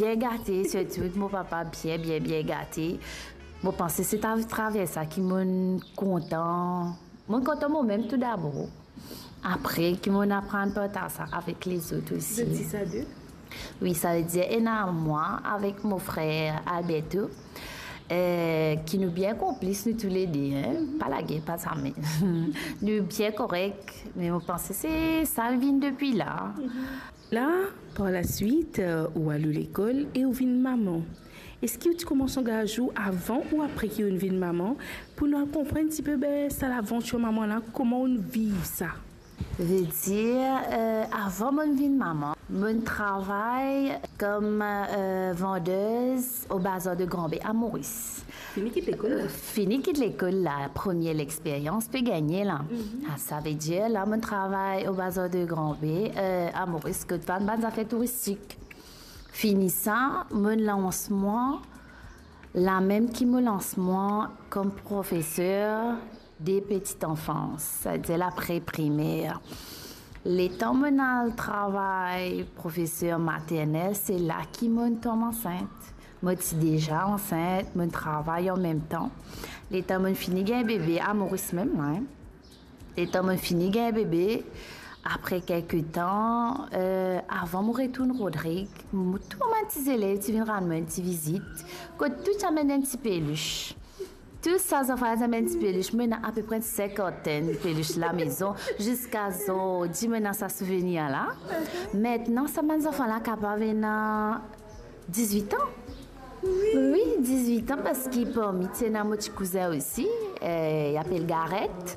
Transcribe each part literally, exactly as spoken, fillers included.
Bien gate, sirtou mo papa bien, bien, bien gate. Mo panse se atraver sa ki mo'nn kontan. Mo'nn kontan momem tou dabor. Apre ki mo'nn aprann partaze sa avek lezot osi. Zot sis a de? Wi, savedir ena mwa avek mo frer Alberto, eh, ki nou bien konplis nou toulede, hein. Mhm. Pa lager, pa zame. Nou bien korek, me mo panse se sa vinn depi la. Mhm. La, par laswit, eh, ou al lekol e ou vinn mama. Eski ou ti koumans angaz ou avan ou apre ki ou'nn vinn mama? Pou nou al konprann tipe, be, sa lavantir mama la, kouma ou'nn viv sa? Vedir, eh, avan mo'nn vinn mama, mo'nn travay kom, eh, vandez o bazar de Grand Baie a Moris. Fini kit lekol la? Fini kit lekol la, premie lexperyans pe gagne la. Mhm. Ah, savedir la mo'nn travay o bazar de Grand Baie, eh, a Moris, kot vann bann zafer touristik. Fini sa, mo'nn lans mwa, lamem ki mo lans mwa kom profeser de petite enfance, savedir la pre-primer. Letan mo'nn al travay profeser maternel, se la ki mo'nn tom ansint. Mo ti deza ansint, mo'nn travay anmemtan. Letan mo'nn fini gagn bebe, a Moris mem, hein. Letan mo'nn fini gagn bebe, apre kelke tan, eh, avan mo retourn Rodrig, mo tou bann ti zelev ti vinn rann mwa enn ti vizit, kot tou ti amenn enn ti pelis. Tou sa zanfan ti amenn ti pelis, mo ena apepre enn sinkantenn pelis lamezon, ziska zordi mo ena sa souvenir la. Atann, sa bann zanfan la kapav ena dizwit an. Wi. Wi, dizwit an, parski parmi ti ena mo ti kouzin osi, eh, li apel Gareth.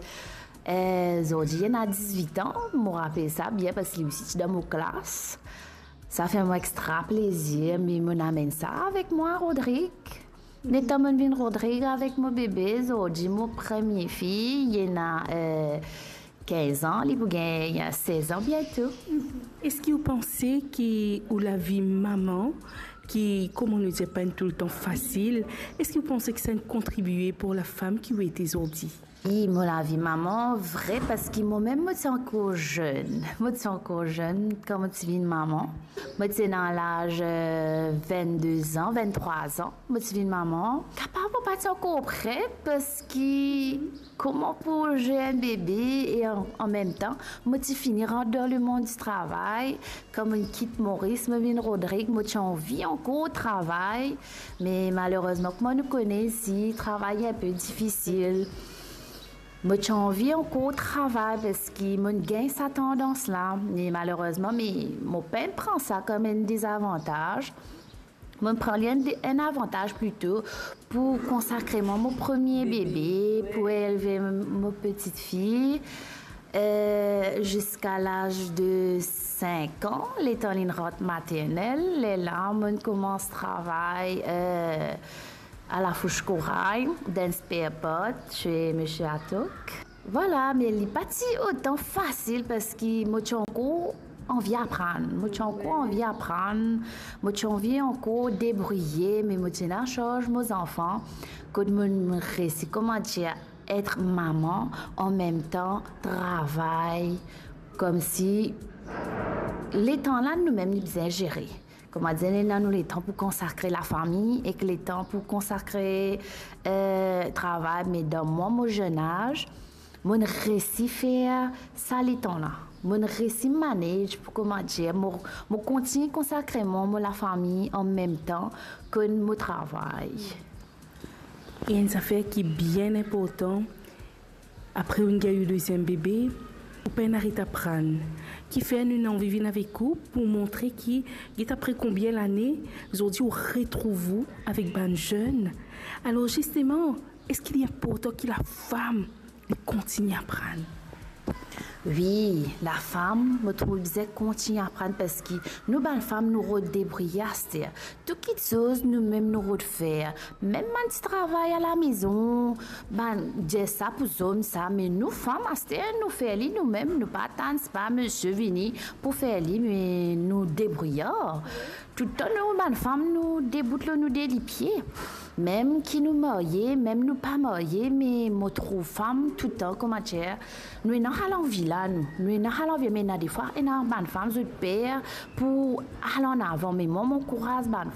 Eh, zordi li ena dizwit an, mo rapel sa bien parski li osi ti dan mo klas. Sa fer mwa extra plezir, me mo'nn amenn sa avek mwa Rodrig. Letan mo'nn vinn Rodrig avek mo bebe, zordi mo premie fi, li ena, eh, kinz an, li pou gagn sez an biento. Eski ou panse ki ou lavi mama, ki, kouma nou dir, pa enn toultan fasil, eski ou panse ki sa inn kontribie pou lafam ki ou ete zordi? Wi, mo lavi mama, vre, parski momem mo ti ankor zenn. Mo ti ankor zenn kan mo ti vinn mama. Mo ti ena laz, eh, vennde zan, venntrwa zan. Mo ti vinn mama. Kapav mo pa ti ankor pre, parski kouma pou zer enn bebe e an, anmemtan, mo ti fini rant dan lemond di travay. Kan mo'nn kit Moris, mo vinn Rodrig, mo ti anvi ankor travay. Me malerezman, kouma nou kone isi, travay enpe difisil. Mo ti anvi ankor travay parski mo'nn gagn sa tandans la. Me malerezman, me mo pa'nn pran sa kom enn dezavantaz. Mo'nn pran li enn, enn avantaz plito pou konsakre mwa mo premie bebe, pou elve mo petite fille, eh, ziska laz de sink an, letan li'nn rant maternel. Lerla mo'nn koumans travay, eh, a Lafouche Corail, dan spare part chez Monsieur Atok. Vwala, me li pa ti otan fasil parski mo ti ankor anvi aprann. Mo ti ankor anvi aprann. Mo ti anvi ankor debrouye, me mo ti ena sarz mo zanfan. Kot mo'nn resi, kouma dir, et mama, anmemtan travay, koumsi letan la noumem nou bizin zere. Kouma dir, nou ena nou letan pou konsakre lafami ek letan pou konsakre, eh, travay. Me dan mwa, mo zenn az, mo'nn resi fer sa letan la. Mo'nn resi manage pou, kouma dir, mo, mo kontign konsakre mwa mo lafami anmemtan kot mo travay. E enn zafer ki bien inportan, apre ou'nn gagn ou deziem bebe, ou pa'nn aret aprann. Kifer nou ena anvi vinn avek ou pou montre ki, get apre konbien lane, zordi ou retrouv ou avek bann zenn. Alor zisteman, eski li inportan ki lafam li kontign aprann? Wi, lafam, mo trouv bizin kontign aprann parski nou bann fam nou rod debrouye aster. Tou kitsoz noumem nou rod fer. Mem bann ti travay alamezon, bann dir sa pou zom sa, me nou fam aster nou fer li noumem, nou pa atann pa misie vini pou fer li, me nou debrouye. Toultan nou bann fam nou debout lor nou de lipie. Mem ki nou marye, mem nou pa marye, me mo trouv fam toultan, kouma dir, nou ena sa lanvi la, nou, nou ena sa lanvi, me ena defwa ena bann fam zot per pou al an avan, me mwa mo ankouraz bann